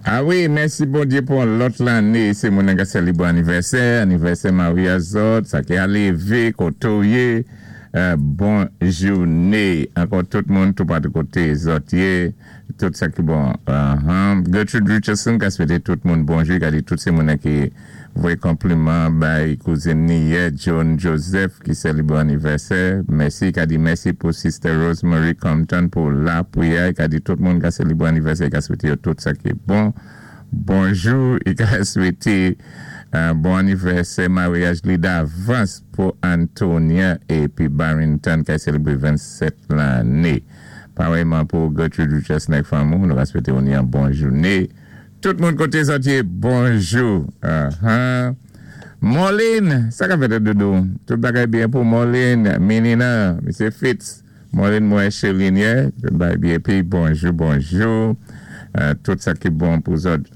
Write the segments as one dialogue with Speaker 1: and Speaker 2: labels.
Speaker 1: A wi, mèsi Bondyé pou yon lòt lanné. Sé moun nan ka sélibwé anivèsè, anivèsè maryaj zòt, sa ki alévé, koté w yé, bon jouné ankò tout moun toupatou koté zòt yé, tout sa ki bon. Gertrude Richardson ka swété tout moun bonjou, li ka di tout sé moun nan ki voyé konpliman bay kouzin ni yè Joan Joseph ki sèlibre anivèsè, mèsi, li ka di mèsi pou Sister Rose Marie Compton pou lapriyè, li ka di tout moun ka selibre anivèsè, li ka swete yo tout sa ki bon, bonjou, li ka swete bon anivèsè maryaj li davans pou Antonia epi Barrington kay selebre 27 lane. Parèyman pou Gertrude Richardson ak fanmi w, nou ka swete w ni yon bon joune. Tout moun koté zòt yé bonjou ahan Morline sa kap fèt doudou tout bagay byen pou Morline Minina misye Fitz Morline mwen Cheline yè tout bagay byen epi bonjou bonjou tout sa ki bon pou zòt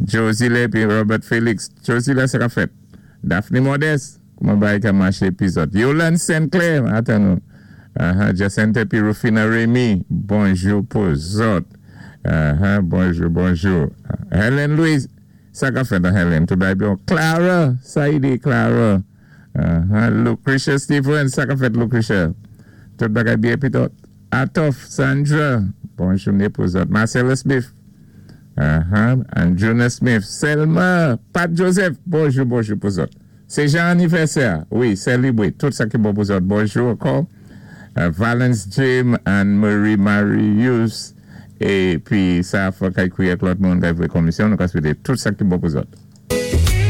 Speaker 1: Josile epi Robert Felix Josile sa kap fèt Daphne Modeste kouman bagay ka maché epi zòt Yolande Saint Clair atan nou Ahan Jacinthe epi Rufina Remy bonjou pou zòt ahan bonjou bonjou Helen Louis sa kap fèt an Helen tout bagay byen Clara Saïde Clara ahan Lucretia Stephen sa kap fèt Lucretia tout bagay byen epi zòt Atof Sandra bon joune pou zòt Marcella Smith ahan Andruna Smith Selma Pat Joseph bonjou bonjou pou zòt. Se jan anivèsè a wi sèlibre tout sa ki bon pou zòt bonjou ankò Valens Jim Anne Marie Marius e pi sa fò kay kriye ak lòt moun kay vwe komisyon nou ka swete tout sa ki bon pou zòt.